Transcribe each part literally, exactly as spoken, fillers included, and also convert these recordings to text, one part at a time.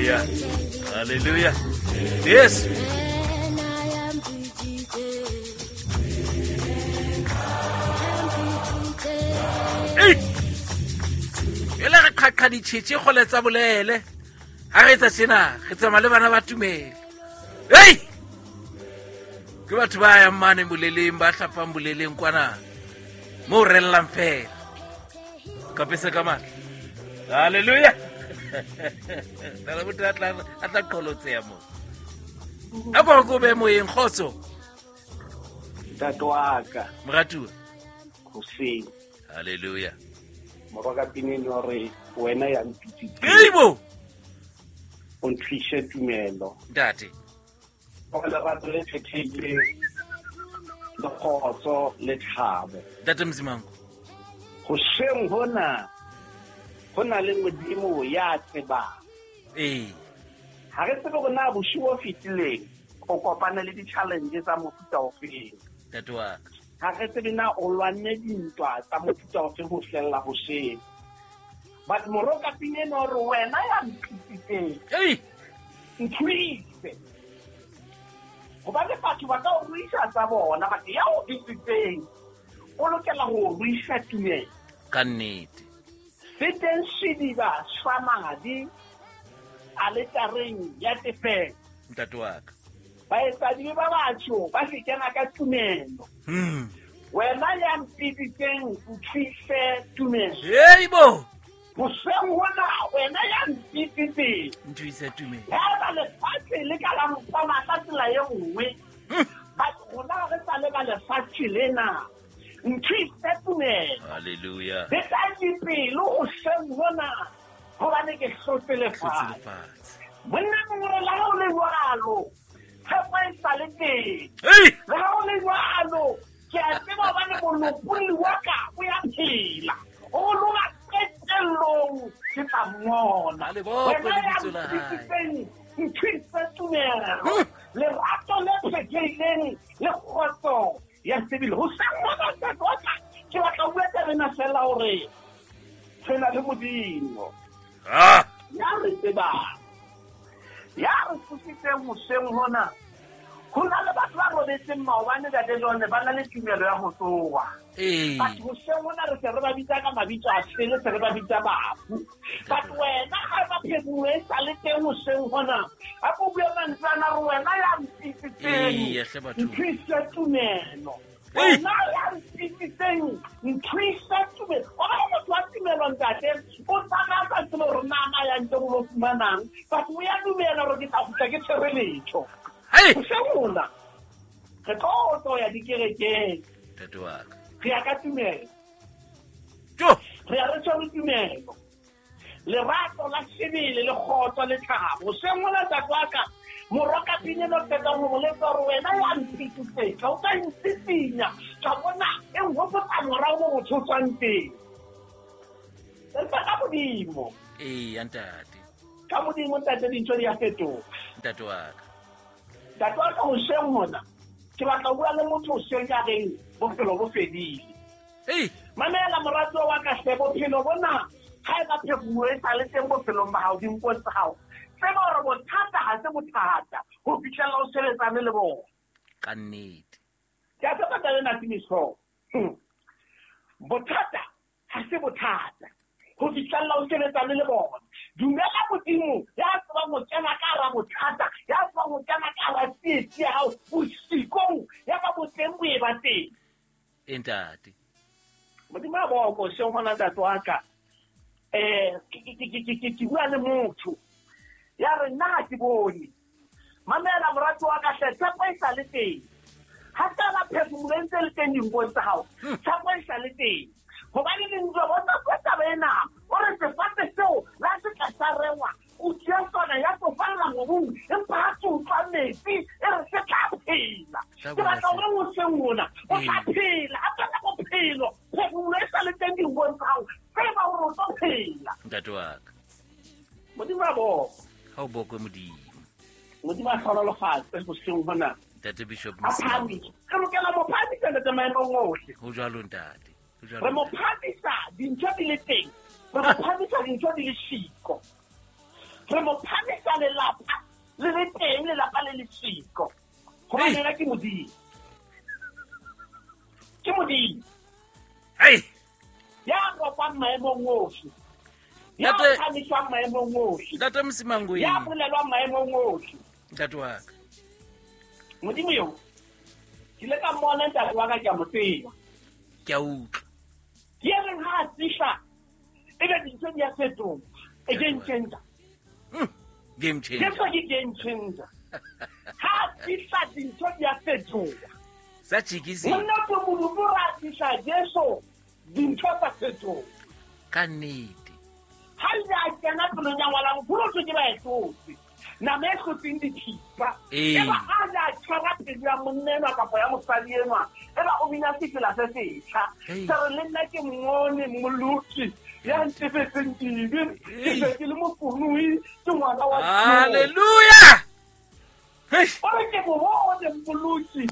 Hallelujah. Hallelujah. Yes. Hey. Ela re qhaqha ditjhetjhe kgole tsa bolele. Ha re etsa tjena, re tsamaya le bana ba tumelo. Hey! Ke batho ba yang mane boleleng, ba hlapang boleleng kwana. Moo rellang fela. Kapesa ka matla. Hallelujah. Nala motho a tla a tla qholotseha moo. A ko ko be moyeng kgotso. Ntate wa ka. Moratuwa. Hoseng. Hallelujah. Morwa ka pineng hore wena ya mpitsitse. Eibo. O ntlishe tumelo. Ntate. O lerato le phethehileng, le kgotso le thabo. Ntate Mzimango. Hoseng hona ho na le Modimo ya tsebang. Ee. Ha re tsebe hore na bosiu bo fetileng o kopane le di-challenge tsa mofuta ofeng. Ntate wa ka. Ha re tsebe na o lwanne dintwa tsa mofuta ofeng ho fihlella hoseng. But moroka pineng hore wena ya mpitsitseng. Ei. Nthuise. Hobane batho ba ka o ruisa tsa bona, but ya o bitsitseng o lokela ho ruisa tumelo. Ka nnete. Se teng sediba sa madi aletareng ya tefelo. Ntate wa ka. Baetsadibe ba batho ba se kena ka tumelo. Hmm. Wena ya mpitsitseng nthuise tumelo. Heibo. Hoseng hona wena ya mpitsitseng nthuise tumelo. Haeba lefatshe le ka la mpona ka tsela e nngwe, but rona re sa le ba lefatshe lena. Nthuise tumelo. Hallelujah. Le tla dipelo hoseng hona hobane ke hlotse lefatshe. Monna mongwe le ha o le jwalo, tshepo e sa le teng. Le ha o le jwalo, ke a tseba hobane molopolli wa ka o ya phela. O loka qetellong ke tla mmona. Wena ya mpitsitseng nthuise tumelo. Lerato le phethehileng le kgotso ya sebele. Hoseng hona ntate wa ka, ke batla ho bua taba ena feela hore re na le Modimo. Ah! Ya re tsebang. Ya re tsositseng hoseng hona. Ho na le batho ba robetseng maobane ntate John, ba na le tumelo ya ho tsoha. Ee. Batho hoseng hona re se re ba bitsa ka mabitso a sele, se re ba bitsa bafu. But wena ha ba phekolo e sa le teng hoseng hona, a ko bue mantswe ana re wena ya mpitsitseng. Ee, hle batho. Nthuise tumelo. Ee. Wena ya mpitsitseng, nthuise tumelo. Wa bona motho wa tumelo ntate, o tsamaya a sa tsebe hore na na ya ntse o lo fumanang, but o ya dumela hore ke tla kgutla ke tshwere letho. Hey! Hoseng hona, re tlo tlo ya dikerekeng. Ntate wa ka. Re ya ka tumelo. Jo! Re ya re tshwere tumelo. Lerato la sebele le kgotso le thabo. Hoseng hona ntate wa ka, morwa ka pineng o qetang ho mo letsa hore wena ya mpitsitseng, o ka ntsitsinya, ka bona e nhopotsa morao mo motho o tswang teng. Empa ka Modimo. Ee, ya ntate. Ka Modimo ntate dintho di a fetoha. Ntate wa ka. Ntate wa ka hoseng hona, ke batla ho bua le motho hoseng ya reng bophelo bo fedile. Ei! Mamela moratuwa wa ka hle, bophelo bona ha eba phekolo e sa le teng bophelong ba hao, dinkong tsa hao. Tseba hore bothata ha se bothata ho fihlella o sebetsane le bona. Ka nnete. Ke a tshepa taba ena Timiso. Bothata ha se bothata ho fihlella o sebetsane le bona. Dumela Modimo ya tsebang ho kena ka hara bothata, ya tsebang ho kena ka hara tsietsi ya hao bosikong, ya ba boteng bo e ba teng. Ee, ntate. Modimo a boko hoseng hona ntate wa ka. Eh, ke ke ke ke ke ke bua le motho ya re nna ha ke bone. Mamela moratuwa wa ka hle, tshepo e sa le teng. Ha taba phefumolo e ntse le teng dinkong tsa hao, tshepo e sa le teng. Hobane lentswe bona ka taba ena, o re sefate seo la se tla sa rengwa, o tšea sona ya tsofalla mobung, empa ha se utlwa metsi, e re se tla phela. Ke batla hore hoseng hona, o tla phela, ha tsena bophelo, phefumolo e sa le teng dinkong tsa hao, tseba hore o tlo phela. Ntate wa ka. Modimo a boko. Ha o bokwe Modimo. Modimo a hlohonolofatse hoseng hona. Ntate Bishop A phahamise. Re lokela mo phahamisa ntate maemong ohle. Ho jwalo ntate. Ho jwalo. Re mo phahamisa dintho di le teng. Re mo phahamisa dintho di le siko. Re mo phamisa lelapa le le teng lelapa le le siko. Hobane yena ke Modimo. Ke Modimo. Hey. Ya ropang maemong ohle. Ya phamiswang maemong ohle. Ntate Msimangwe. Ya bolelwang maemong ohle. Ntate wa ka. Modimo yo. Ke ile ka mmona ntate wa ka ke a mo tseba. Ke a utlwa. Ke reng ha a fihla ebe dintho di a fetoha. E game changer. Mm, game changer. Jesu ke game changer. Ha fihla dintho di a fetoha. Sa tjikisi. Monna ke morumo ra fihla Jesu dintho tsa fetoha. Ka nnete. Ha ile a kena pelong ya ngwana nkgolo ke ba e tlotse. Nama e hlotseng dithipa. Eba a ja tshwara pelo ya monna enwa kapa ya mosadi enwa. Eba o bina sefela se setjha. Se re le nna ke mmone mmoloki ya ntefetseng dibe. Ke se ke le mokoloi ke ngwana wa Hallelujah. Hey. O re ke bone mmoloki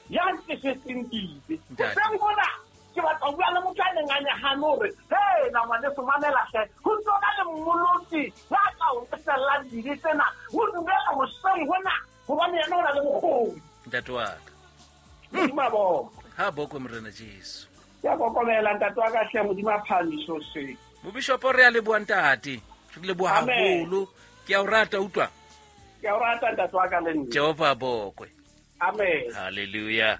ya ntefetseng dibe. Hoseng hona ke batla ho bua le motho a neng a nyahane hore hey na ngwaneso mamela hle ho tsona le mmoloki ya ka o tsellang dibe tsena o dumela hoseng hona hobane yena o na le bokgoni. Ntate wa ka. Modimo a bokwe. Ha bokwe Morena Jesu. Ke a kokomela ntate wa ka hle Modimo a phahamiso se. Mobishopo re a leboha ntate. Re leboha haholo. Ke a o rata utlwa. Ke a o rata ntate wa ka le nna. Jehova a bokwe. Amen. Hallelujah.